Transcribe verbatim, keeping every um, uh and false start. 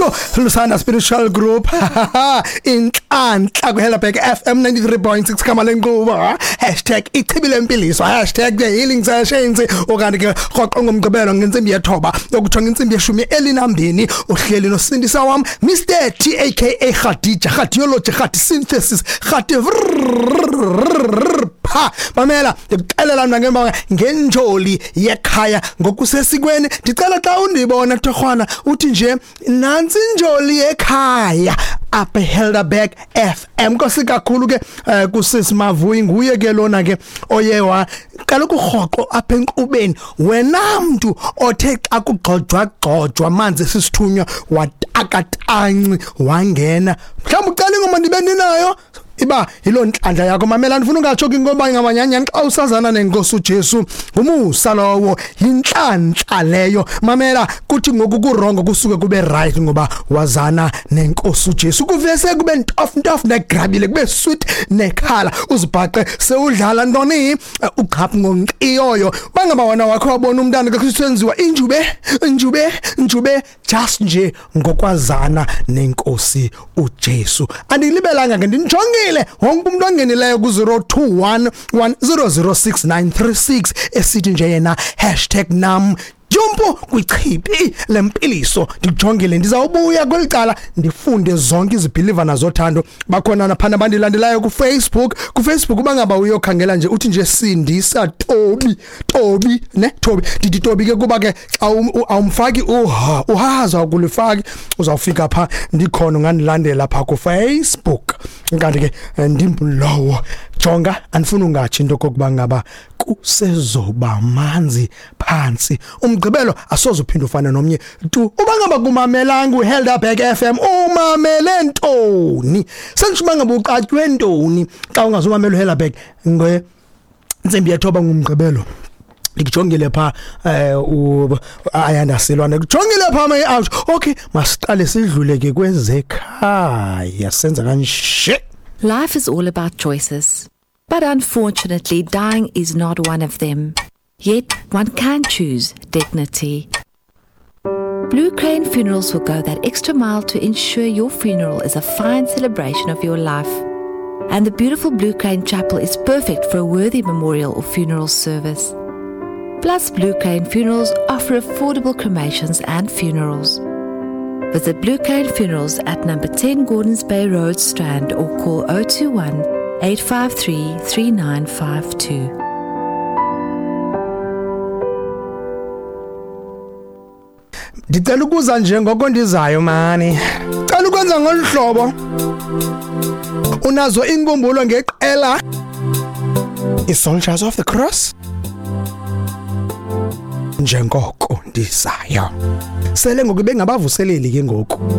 Sho Lusanda Spiritual Group. Inhlanhla kuHelderberg F M ninety-three point six kama lenkqubo. Hashtag ichibi lempiliso, hashtag the healing sessions. Okanti ke rhoqo ngomgqibelo ngentsimbi yethoba yokutsho ngentsimbi yeshumi elinambini uhleli nosindisa wam Mister T aka Khadija, Khadiology, Khadi Synthesis, Khadi pha. Mamela ndikuxelela mna ngemba ngenjoli yekhaya ngokusesikweni. Ndicela xa undibona Torhwana uthi nje nantsi injoli yekhaya apha Helderberg F M. Nkosi kakhulu ke kusisi Mavuyi, nguye ke lona ke oye waqala ukurhoqo apha enkqubeni. Wena mntu othe xa kugxojwa gxojwa amanzi esisithunywa watakatanci wangena, mhlawumbi ucela ingoma ndibe ndinayo iba yiloo ntlantla yakho. Mamela, ndifuna ungatsho ke ngoba ngamanyanyani xa usazana nenkosi uJesu, ngumusa lowo, yintlantla leyo. Mamela, kuthi ngoku kurongo kusuke kube right ngoba wazana nenkosi uJesu. Kuvese kube ntof ntof negrabile, kube sweet nekhala, uzibhaqe sewudlala ntoni uqhaphu ngonqiyoyo. Bangaba wena wakho wabona umntana kaKristu injube injube injube just nje ngokwazana nenkosi uJesu. Andilibelanga ke, ndinijongile wonke umuntu ongenileyo ku zero two one one zero zero six nine three six esithi nje yena hashtag nam jumpo kwichibi lempiliso. Ndijongile, ndizawubuya kweli cala ndifunde zonke izibhilivana zothando. Bakhona naphana abandilandelayo ku Facebook. Ku Facebook ubangaba uyokhangela nje uthi nje Sindisa Tobi, Tobi ne Tobi. Ndithi Tobi ke kuba ke xa awumfaki uha uhaza ukulifaki uzawufika pha, ndikhona ungandilandela pha ku Facebook. Kanti ke ndimlowo jonga, andifuna ungatsho into kokuba ngaba kusezoba manzi phansi. Umgqibelo asoze uphinde ufane nomnye tu. Uba ngaba kumamelanga uHelderberg F M, umamele ntoni? Sengisho uba ngaba uqatywe ntoni xa ungazumamela uHelderberg ngentsimbi yethoba ngumgqibelo? Ndikujongile pha eh Ayanda Silwane, kujongile pha my out. Okay, masiqale sidlule ke kwezekhaya, senza kanje. Life is all about choices, but unfortunately dying is not one of them. Yet one can choose dignity. Blue Crane Funerals will go that extra mile to ensure your funeral is a fine celebration of your life. And the beautiful Blue Crane Chapel is perfect for a worthy memorial or funeral service. Plus, Blue Crane Funerals offer affordable cremations and funerals. Visit Blue Crane Funerals at number ten Gordons Bay Road, Strand, or call oh two one, eight five three, three nine five two. Ndicela ukuza nje ngoko ndizayo mani. Cela ukwenza ngolu hlobo. Unazo inkumbulo ngeqela iSoldiers of the Cross? Njengoko ndizayo. Sele ngoku bengabavuseleli ke ngoku.